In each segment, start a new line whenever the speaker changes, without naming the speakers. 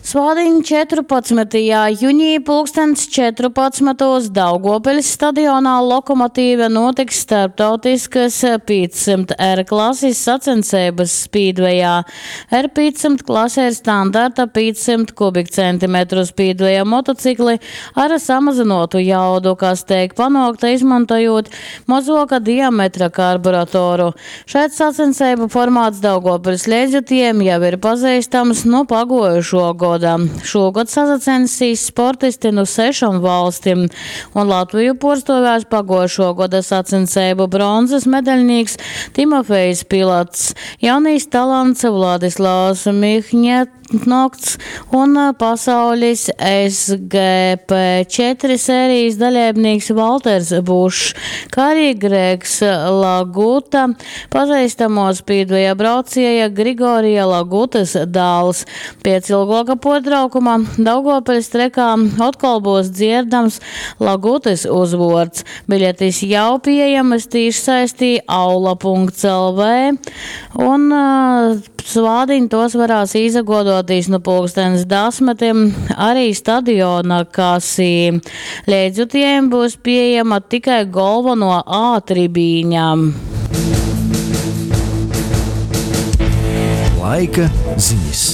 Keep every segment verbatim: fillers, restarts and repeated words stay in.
Svātdiņ četrupadsmytajā junī pulkstens četrupadsmytūs Daugovpiļs stadionā Lokomotīve nūtiks starptautiskys pīcsimt R klasis sacenseibys spīdvejā. R pīcsimt klase ir standarta pīcsimt kubikcentimetru spīdveja motocikli ar samazynuotu jaudu, kas teik panuokta izmontojūt mozuoka diametra karburatoru. Šaids sacenseibu formāts Daugovpiļs leidzjutiejim jau ir pazeistams nu paguojušuo goda. Šūgod sasacensīs sportisti nu sešom valstim, un Latviju puorstuovēs paguojušuo goda sacenseibu bronzys medaļnīks Timofejs Pilats, jaunīs talants Vladislavs Mihņetnokts un pasaulis S G P četri sērijas dalībnieks Valters Bušs, kā arī Gregs Laguta, pazīstamo spīdveja braucēja Grigorija Lagutas dēls. Pēc ilgāka pārtraukuma Daugovpiļs trekā atkal būs dzirdams Lagutas uzvords. Biļetes jau pieejamas tīšsaistī aula punkts L V un, ā, svādiņ tos varēs izagodoties nu pulkstens desmitiem arī stadiona kasī. Leidzjutējiem būs pieejama tikai galveno A tribīņa.
Laika ziņas.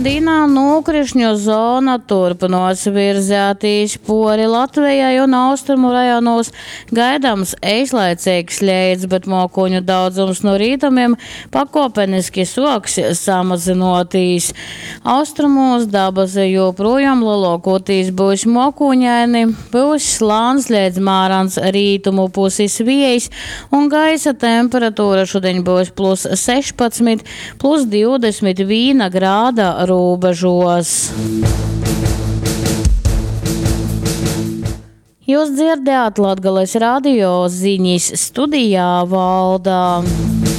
Dīnā nokrišņu zona turpinos virzētīs pori Latvijai un austrumu rajonos gaidāms eislaicīgs leits, bet mokoņu daudzums no rītumiem pakopeniski soks samazinoties. Austrumos dabas joprojām lielākoties būs mokoņaini, būs slāns līdz mārans rītumu puses viejs un gaisa temperatūra šodien būs plus sešpadsmit, plus divdesmit viena grāda robežos. Jūs dzirdējāt Latgales radio ziņas studijā Valda.